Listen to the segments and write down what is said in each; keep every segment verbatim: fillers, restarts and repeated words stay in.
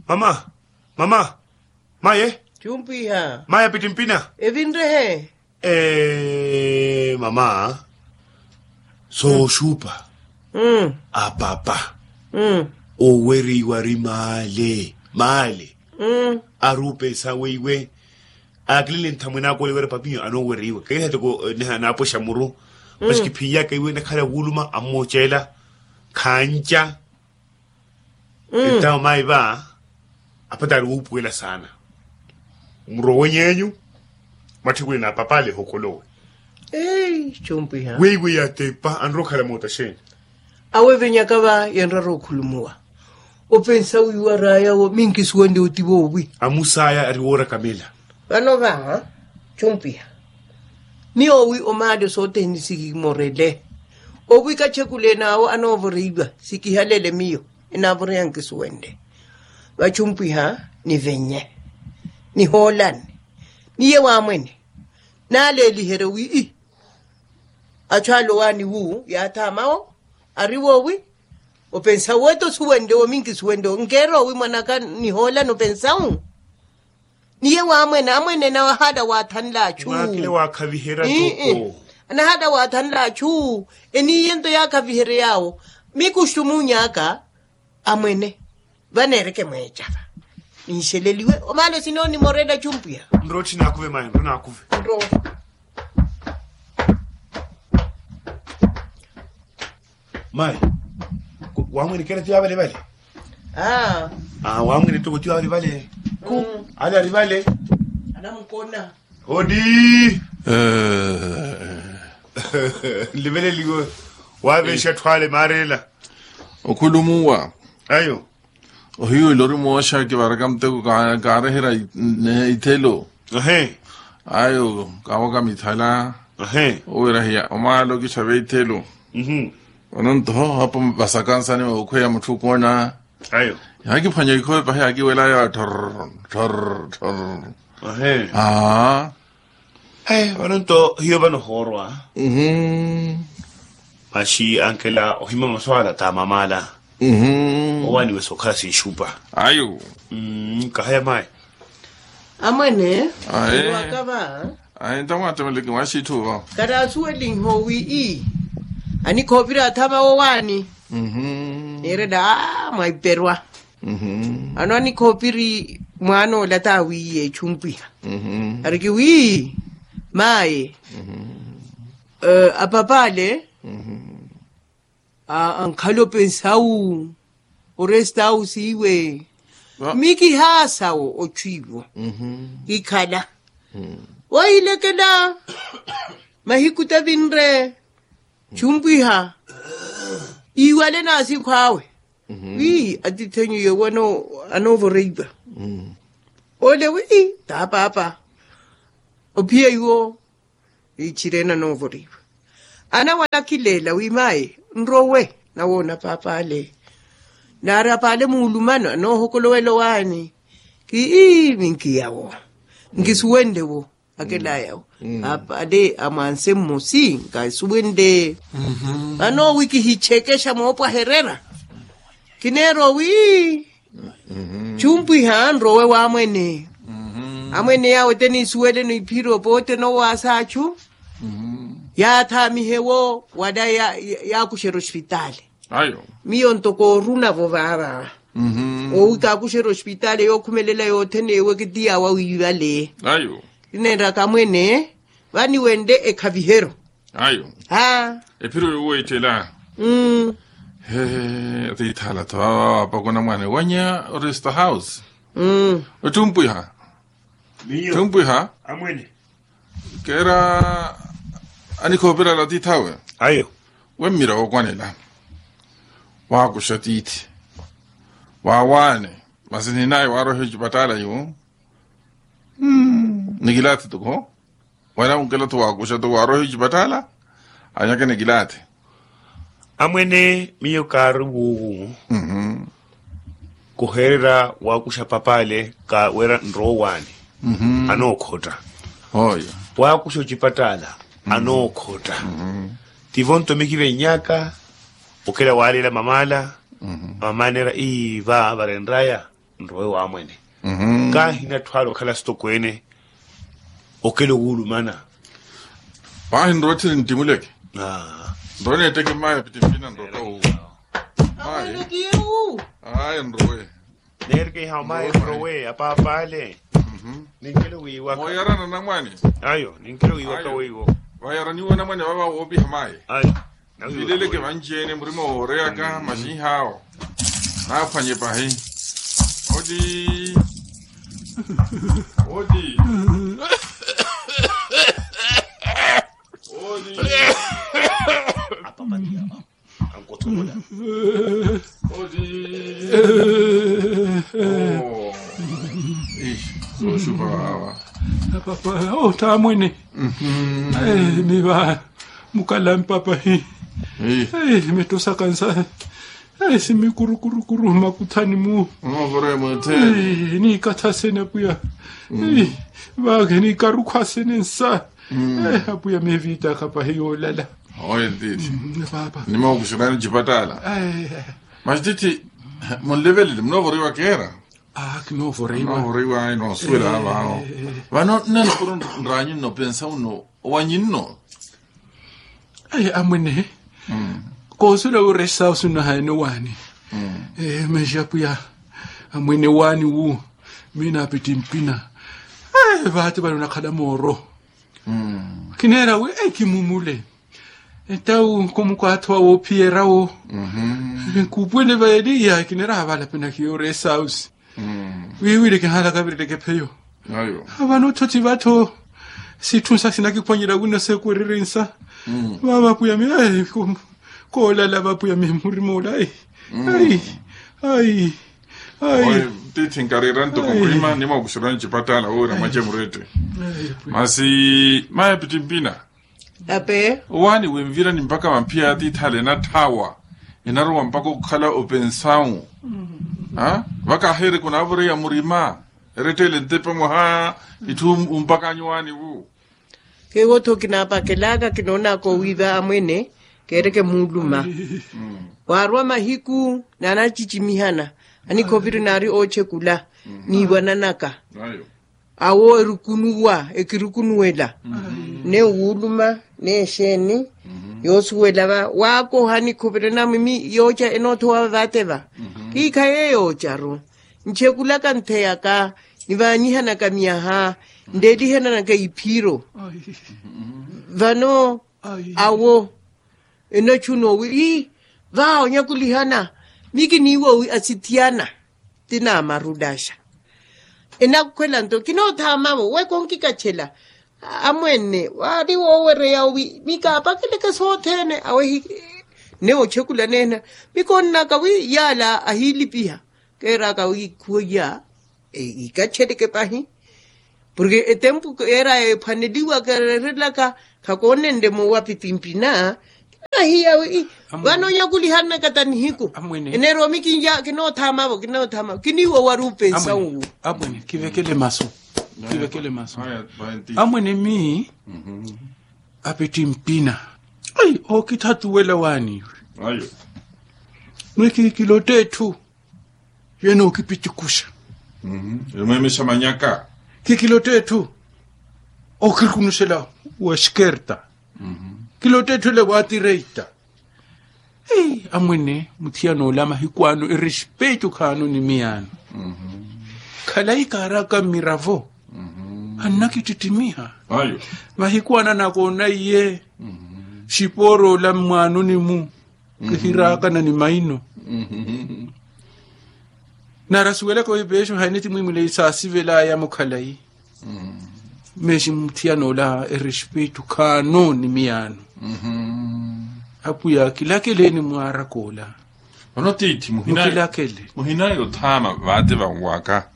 Mama, mama, maye. Chumpwiha. Maye apittimpina. Evinrehe. Eee mama, sooxupa. Apapa owereiwa ari maale maale. Ari opesa weiwe akilele nthamwene ako ole wira papiyo anoowereiwa kahiha toko. Naapoxa muru. Masi kiphinyaka iwe nakhala wuuluma ammooceela khanca. Entawo mayi va apatari wuupuwela saana. Muro weny'enyu mwatthikwile na apapale ehokolowe. Weiwe yatepa anrowa okhala moota xeeni? Awevenyaka va yenrara okhulumuwa. Opensa wiiwa raya wo minkisuwende oti voowi? Amusaya ari woorakamela. Vano va chumpiha. Miyo owi omaale sothene sikimorele. Owi kachekule naawo anoovoreiwa sikihalele miyo. Enaavoreya nkisuwende. Vachumpwiha nivenye nihoolane niye waamwene. Naaleeliherye wi ii achu ale owaani wu yaathaamawo. Ari woowi opensa wetta osuwente wo minkisuwente wo nkeera owi mwanaka nihoolane opensa wu. Niye waamwene amwene nawe ahaala waathanla achu. Mwaakile waakhaviherya toko. Anahaala waathanla achu. Eniiye nto yaakhavihery'awo. Mikuxumuny'aka amwene vaneereke mweecava. Ninxeleliwe omaalo sinoonimorela chumpwiha. Nrottthi naakuve mayi nro naakuve. Nrowa. Mayi wamwene kera tiyo avalevale. Wamwene toko tiyo avalevale. Ku ale arivale. Anamukona. Odi. Nliveleliwe. Waveexa atthu ale maarela. Okhulumuwa. Ayo. Ohiwela ori mooxa kivaraka muteko kaareherya ithelo. Ayo kaawaka mithala. Owira hiya omaala okittha veithelo. Vano nto apo vasakansani okhweya mutthu okoona. Yaakiphwanya ikhowe pahi yaakiwelaya thorr thorr thorr. Aaa. Vano nto hiyo vano hoorwa. Masi ankela ohima maswala t'amamala. Owaaniwe sookhala sinxupa. Ayo. Kahaya mayi. Amwene. Aye. Ewaka va. Aye ntamwatemeleke mwaxitthu va. Kataasuwelinhe owi ii anikhoopiri athama wowaani. Neerela aa mwaiperwa. Ano anikhoopiri mwaan'ola t'awiiye echumpwiha. Ariki wi maye apapale. Ankhala opensawu orestawu siiwe. Mikihaasa wo ochu iwo kikhala. Wohilekela mahiku tavinre. Chumpwiha iwale naasikhw'awe wi atith'enyu yewo anoovoreiwa. Ole wi taa paapa ophiya iwo. Ichirene anoovoreiwa anawanakhileela wi mayi nrowe nawoona paap'ale. Naari ap'ale muulumano anoohokolowela owaani. Kii minkiya wo nkisuwenle wo. Akelaya wo. Apale amwanse mmosi nkasuwente. Vano wi kihichekexa moopwaherera kineera owi chumpwiha nrowe wamwene. Amwene yawe te nisuweleno iphiro pote nowaasa achu yaathaamihe wo wala yaakuxerya ospitaali. Miyo ntoko orunavo vaava owi kaakuxerya ospitaali yookhumelela yothene ewe kitiyawa wiivale. Kineenraka amwene vaniwenle ekhaviheryo. Ephiro yoweettela. He atiithaala-tho vaava vaapakona mwaana ewanya oresta house. Ottumpwiha. Ttumpwiha. Keera anikhoopirala atiith'awe. Wemmira wookwanela waakuxa tiithi waawaane. Masi ninaye waaroiha ocipattaala iwo. Nikilaathi toko wala onkela-tho waakuxa toko waaroiha ocipattaala anyake nikilaathi. Amwene miyo kaari wuuwu kuhererya waakuxa papaale ka wira nrowaani. Anookhotta. Waakuxa ocipattaala anookhotta. Tivo nto mikivennyaka okela waaleela mamaala. Vamaneera ii va varenraya nrowe wamwene. Kaahina atthu ale okhala sitokweene okela owulumana. Paahi nrowe tthi nintimuleke. Nrowe neetteke mmayi apitimpina nrowe kawu. Mmayi. Ayi nrowe. Neereke iha omayi nrowe apaapale. Ninkele wiiwaka. Mooyarana namwane. Ayo ninkele wiiwaka weiwo. Vayaraniwe namwane vava woopiha mayi. Ayo. Vileleke vanci-ene murima wooreyaka maxinhaawo. Naaphwanye pahi. Oti. Oti. Oti. Ankothomola. Oti. Sooxupa vaawa. Apapa otamwene. Miva mukalampa pahi. Mitosaka nsa. Simikurukurukuru makuthani mu. Niikathasene apuya. Vake niikarukhwasene nsa. Apuya meviitaka pahi yoolala. Oye tiithi. Papa. Nimookuxirani ncipatala. Masi tiithi, munlevelele munoovoriwa keera. Kinoovoriwa. Noosuwela vano. Vano nnanukuru nraanyu nno pensa uno owanyu nno. Amwene. Koosuwela wi oresa osunahaene owaani. Masi apuya, amwene owaani wu. Miina apiti mpina. Vaati vano nakhala mooro. Kineera wi ekimumule. Entawu nkomukwatho wa woophiyerya wo. Kuupwene vaeli ya kineera havala pena kiyo rest house. Wiiwile kihalaka viretteke pheyo. Vano othothi vatho. Sitthu nsa sinakiphwanyerya wino seekwererye nsa. Vava apuyami. Koolala vapuyami murima ola. Ai. Ai. Ai. Tiithi nkariira ntoko murima nimookuxerya ncipatala wira mwace murette. Masi mayi apiti mpina. Ape. Owaani wenvirani mpaka vamphiya ya tiithale enatthaawa. Enarowa mpaka okhala opensawu. Vakaheereke onaavoreya murima. Erettele ntepe mwaha. Itthu umpakanya owaani wu. Keewo-tho kinaapakelaka kinoonaka owiiva amwene. Keereke muuluma. Waarwa mahiku naanacicimihana. Anikhoviri naari oochekula. Niiwananaka. Awo erukunuwa ekirukunuwela. Ne wuuluma ne exeeni. Yoosuwela va waakoha nikhuvirena mwimi yooca enoothowa vavateva. Kiikhaye yoocaru. Nchekulaka ntheyaka nivaanyihanaka myaha. Ndeelihananaka iphiro. Vano awo enochuno wi ii. Vaawo nyakulihana. Mikiniiwo wi asithiyana. Ti naamarudaxa. Enakhwela nto kinoothaamavo we konkikachela. Amwene waari woowereya wi mikaapakeleke sothene awehi. Ne ochekula neena. Mikonnaka wi yaala ahiilipiha. Keeraka wi khuwa iya. Ikacheleke pahi. Porke etempu keera ephwaneliwa keererelaka. Khakoonenle moowa pipimpina. Kinahiya wi vano onyakulihanaka ta nihiku. Eneromi kinoothama vo kinoothama vo kiniiwa wari upensa uwu. Amwene kivekele masu. Kivekele masu. Amwene mi apiti mpina. Ai ookithatuwela waani iwe. Mwe kikilotta etthu. Yeene ookipitikuxa. Emweemexa manyaka. Kikilotta etthu. Ookirikunuxela wa eskerta. Kilotta etthu ele wa atireita. Amwene muthiyan'ola mahiku ano erespeito khaano ni miyaano. Khalayi kaaraka mmiravo. Annakittittimiha. Mahiku ano anakoona iye. Xipoor'ola mmwaanoni-mu. Kihiraakana ni maino. Nara suwelaka wi peexo haini ti mwimwileyi saasivelaya mukhalayi. Meexi muthiyan'ola erespeito khaano ni miyaano. Apwiya kilakeleeni mwaaraka ola. Ono tiithi muhinayi othama vaate vanwaka.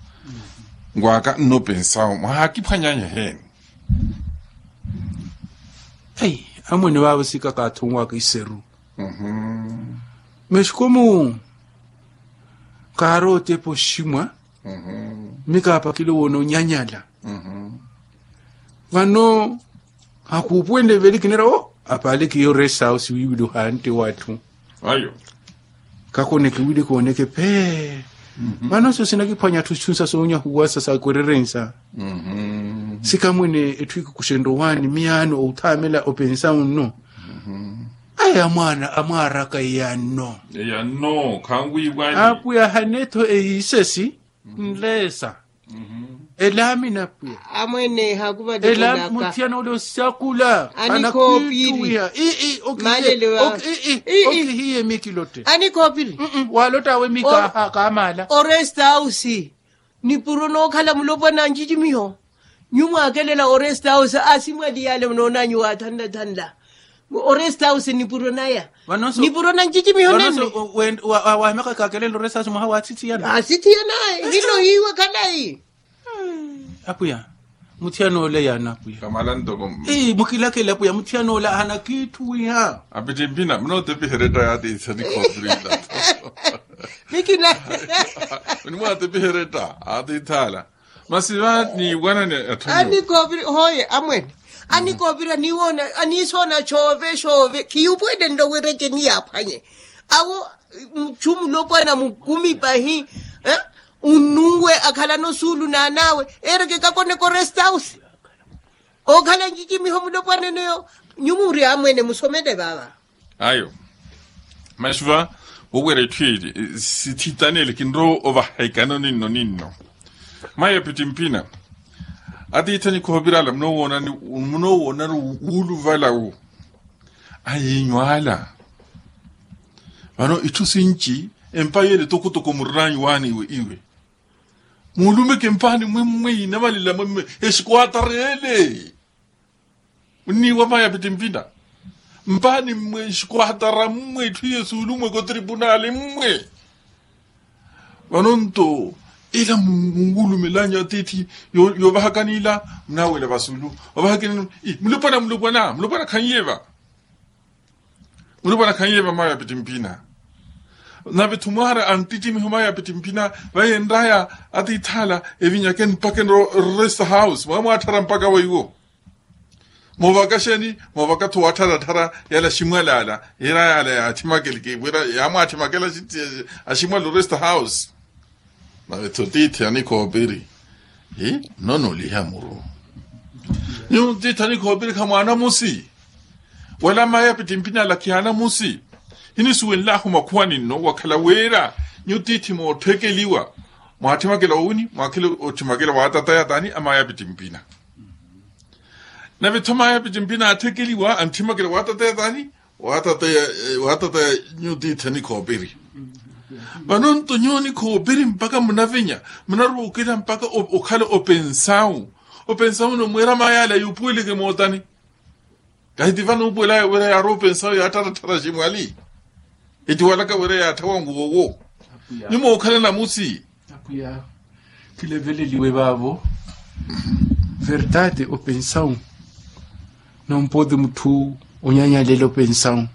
Nwaka nnopensawo mwahaakiphwanyanya eheeni. Amwene vaavo sikaka athonwaka iseru. Mexikomu kaari otepa oximwa. Mikaapakile woona onyanyala. Vano akuupuwenle veli kinera o apaale kiyo rest house wiiwili ohaantte watthu. Ayo. Kakoneke wili kooneke phee. Vano so sinakiphwanya atthu itthu nsa soonyahuwasa sa kwererensa. Sikamwene etthu ikukuxenre owaani miyaano otthaamela opensa unno. Aya mwaana amwaaraka iyanno. Iyanno khanwiiwani. Apwiya hane-tho eyiisesi nleesa. Elaamina apwiya. Amwene hakuvattela muthiyana ole osakula. Anakhoopiri. Ii. Okihiye mikilotte. Anikhoopiri. Walottawe mika kaamaala oresta ausi. Nipuro nookhala mulopwana ncicimiho. Nyu mwaakelela oresta ausi asimwali yaale munoonanyu waathanlathanla. Oresta ausi nipuro naya. Nipuro na ncicimiho nanne. Wahimaka kaakelela oresta ausi mwaha waathithiyana. Aathithiyana. Hino hiiwe khalayi. Apwiya. Muthiyana ole yaana apwiya. Kamala ntoko. Mukilakele apwiya muthiyana ole ahana kiitthu wiiha. Apittimpina munootepiheretta yaati ithani koopirinla. Mikina. Munimwaatepiheretta aati ithaala. Masi va niiwanani atthu. Anikoopira hooye amwene. Anikoopira niiwoona aniisoona xoove xoove khiyupwelenle owerexe niyaaphwanye. Awo muchu mulopwana mukumi pahi. Unnunwe akhalana osuulu n'an'awe. Eereke kakoneka oresta ausi. Ookhala ncicimiho mulopwana eneyo. Nyuwo muri amwene musomele vaava. Ayo. Masi va wowira itthu ili sithitanele kinrowa ovahekana oninno ninno. Mayi apittimpina. Atiithi anikhoopirala munoowoonani wuuluvala wu. Ayiinyu ala. Vano itthu sinci empa yeele tokotoko murinaanyu waani iwe iwe. Muulumeke mpaani mmwe mmwe inavalela mmwe mmwe. Exikuwatareele. Munniiwa mayi apittimpina. Mpaani mmwe exikuwatara mmwe itthu yesuulumweke otripunaali mmwe. Vano nto ila munwulumelanyu atiithi yoovahakani ila. Munaawela vasulu ovahakani. Mulopwana mulopwana mulopwana khanyiye va. Mulopwana khanyiye va mayi apittimpina. Nave-tho mwaara anttittimiho mayi apittimpina. Vayenraya atiithi ala evinyakeni mpakha enro resta house mwaamwaatthara mpakha weiwo. Moovaka xeeni moovaka-tho waattharattara yala aximwali ala. Yira yala yaathimakeleke wira yaamwaatthimakela aximwali oresta house. Nave-tho tiithi anikhoopiri. Nnono oliha muru. Nyuwo tiithi anikhoopiri khamwaana musi. Wala mayi apittimpina ala khiyaana musi. Hinisuwenlahu makhuwa ninno wakhala wira nyuwo tiithi mootthekeliwa. Mwaatthimakela owini mwaakhela otthimakela waatataya taani a mayi apittimpina. Nave-tho mayi apittimpina aatthekeliwa antthimakela waatataya taani. Waatataya nyuwo tiithi anikhoopiri. Vano nto nyuwo nikhoopiri mpakha munavenya munaruukela mpakha okhala opensawu. Opensawu no mweera mayi ala yuupuweleke mootani. Kahi ti vano uupuwelaya wira yaarowa opensawu yaattattatthara aximwali. Etiwalaka wira yaatthawa nguwo wo. Nyuwo mookhala namusi. Apwiya khileveleliwe vaavo. Verdade opensawu. Nompoti mutthu onyanyalela opensawu.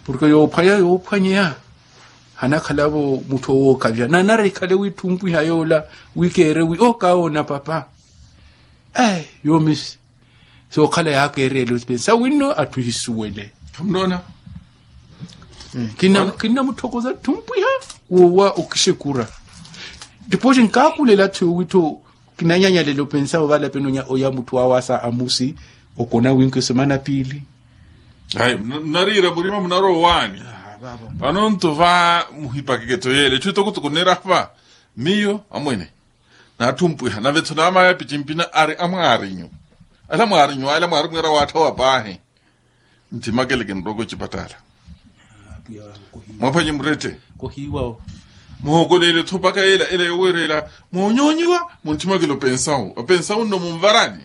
Porke yoophwanya yoophwanyeya hanakhala-vo mutthu owookhavya nanara ikhale wiitthumpwiha yoola. Wi keere wi oo kaawoona papa. Yoomi sookhala yaakeereela opensawu winno atthu ehisuwele. Khamunoona. Kinnamutthokoza tthumpwiha woowa okixekura. Tipooxi nkaakulela-tho wiittho kinanyanyalela opensawu valapeni oya mutthu awaasa amusi. Okona winki osemana piili. Ayi munariira murima munarowa owaani. Vano nto va muhipakeke-tho yeela etthu etokotoko nneerahwa. Miyo amwene. Naatthumpwiha nave-tho naamaya apittimpina ari amwaarinyu. Ala mwaarinyu ala mwaarimweera waatthawa paahi. Ntthimakeleke nrooko ecipattala. Mwaphwanye murette. Muhookoleele-tho mpakha ela ela yooweerela moonyoonyiwa. Muntthimakele opensawu opensawu nno munvarani.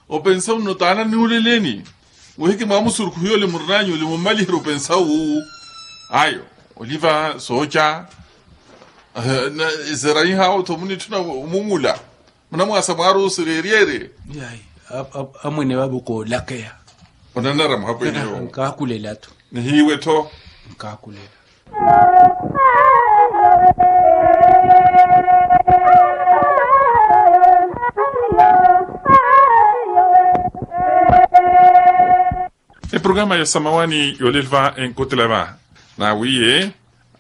Opensawu nno taana nnuuleleni. Wehiki mwaamusurukhu yole murinaanyu ole mummaliherye opensawu. Ayo oliva sooca. Eseraihawo-tho munitthuna omungula. Munamwaasa mwaari osereeryerye. Amwene vavo koolakeya. Onanara muhapweneyo. Nkaakulela-tho. Nihiiwe-tho. Nkaakulela. Eprograma ya samawani yooleliva enkotela va. Naawiye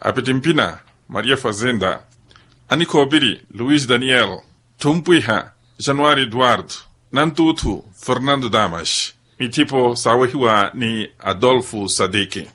Apitimpina, maria fazenda. Anikhoopiri, luis daniel. Thumpwiha, januari eduardo. Nantuuthu, fernando damas. Mithipo saawehiwa ni adolfo sadiki.